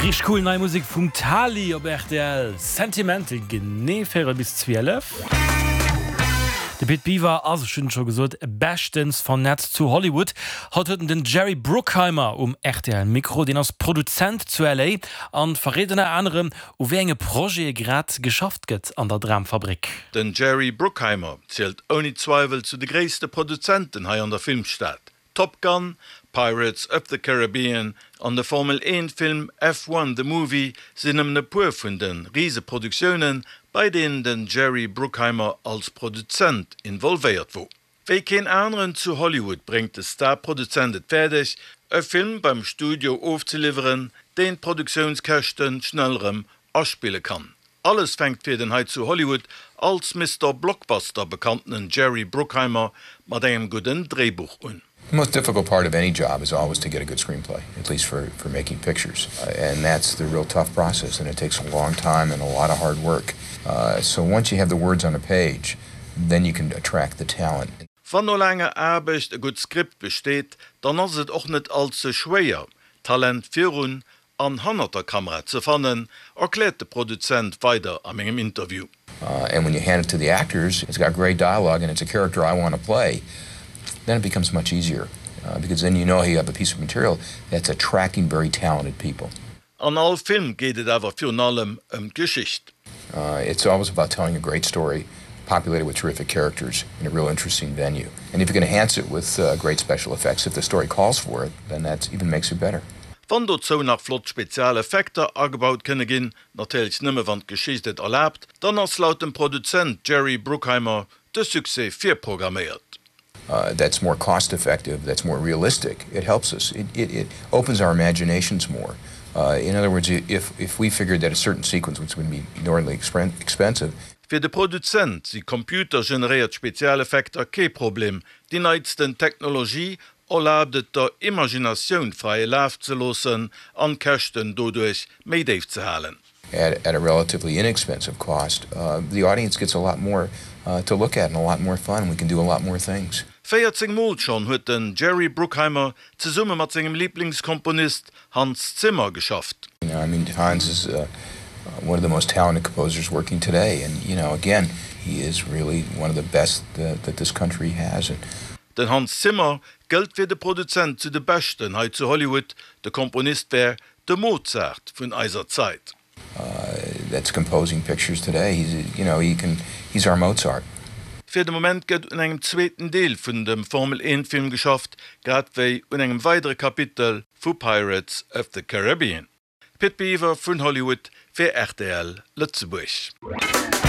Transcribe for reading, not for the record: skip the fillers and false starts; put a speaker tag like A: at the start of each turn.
A: Richteg cool nei Musek vum Tali op rtl. Sentimental, genee véierel bis 12. De Pit Biwer ass, ech hunn et scho gesot, beschtens vernetzt zu Hollywood. Haut huet en den Jerry Bruckheimer um rtl Mikro. Deen ass Produzent zu LA an verréit ënner anerem, u wéi enge Projete grad geschafft gëtt an der Dramfabrik.
B: Den Jerry Bruckheimer zielt ouni Zweiwel zu de gréisste Produzenten hei an der Filmstad. Top Gun, Pirates of the Caribbean an de Formel 1 Film F1 The Movie sinn nëmmen e puer vun de Riseproduktiounen, bei deenen den Jerry Bruckheimer als Produzent involvéiert wor. Wéi keen aneren zu Hollywood bréngt de Star-Produzent et fäerdeg, e Film beim Studio ofzeliwweren, deen d'Produktiounskäschte schnell rëm aspille kann. Alles fänkt fir den hei zu Hollywood als Mister Blockbuster bekanntenen Jerry Bruckheimer mat engem gudden Dréibuch un.
C: The most difficult part of any job is always to get a good screenplay, at least for for making pictures. And that's the real tough process and it takes a long time and a lot of hard work. So once you have the words on a page, then you can attract the talent.
B: Wann no laanger Aarbecht e gutt Skript besteet, dann ass et och net all ze schwéier, Talent virun an hannert der Kamera ze fannen, erkläert de Produzent weider a mengem Interview.
C: And when you hand it to the actors, it's got great dialogue and it's a character I want to play, then it becomes much easier because then you know you have a piece of material that's attracting very talented people.
B: An all Film geet et awer virun allem ëm d'Geschicht.
C: It's always about telling a great story populated with terrific characters in a real interesting venue. And if you can enhance it with great special effects, if the story calls for it, then that even makes it better.
B: Wann dozou nach flott Spezialeffekter agebaut kënne ginn, natierlech nëmme wann d'Geschicht et erlaabt, dann ass laut dem Produzent Jerry Bruckheimer de Succès virprogramméiert.
C: That's more cost effective, that's more realistic, it helps us, it it opens our imaginations more. In other words, if if we figured that a certain sequence was going to be inordinately expensive.
B: Fir de Produzent si computergeneréiert Spezialeffekter kee Problem, déi neitsten Technologie erlaabt et der Imaginatioun fräie Laf ze loossen an d'Käschten doduerch méi déif ze halen.
C: At at a relatively inexpensive cost, the audience gets a lot more to look at and a lot more fun and we can do a lot more things.
B: 14 Mol schonn huet den Jerry Bruckheimer zesumme mat sengem Liblingskomponist Hans Zimmer geschafft.
C: I mean Hans is one of the most talented composers working today and you know again he is really one of the best that this country has.
B: Den Hans Zimmer gëllt fir de Produzent zu de Beschten hei zu Hollywood, de Komponist wär de Mozart vun eiser Zait.
C: That's composing pictures today, he's you know he can he's our Mozart.
B: Fir de Moment gëtt un engem zweeten Deel vun dem Formel 1 Film geschafft, grad wéi un engem weidere Kapitel vu Pirates of the Caribbean. Pit Biwer vun Hollywood fir rtl Lëtzebuerg.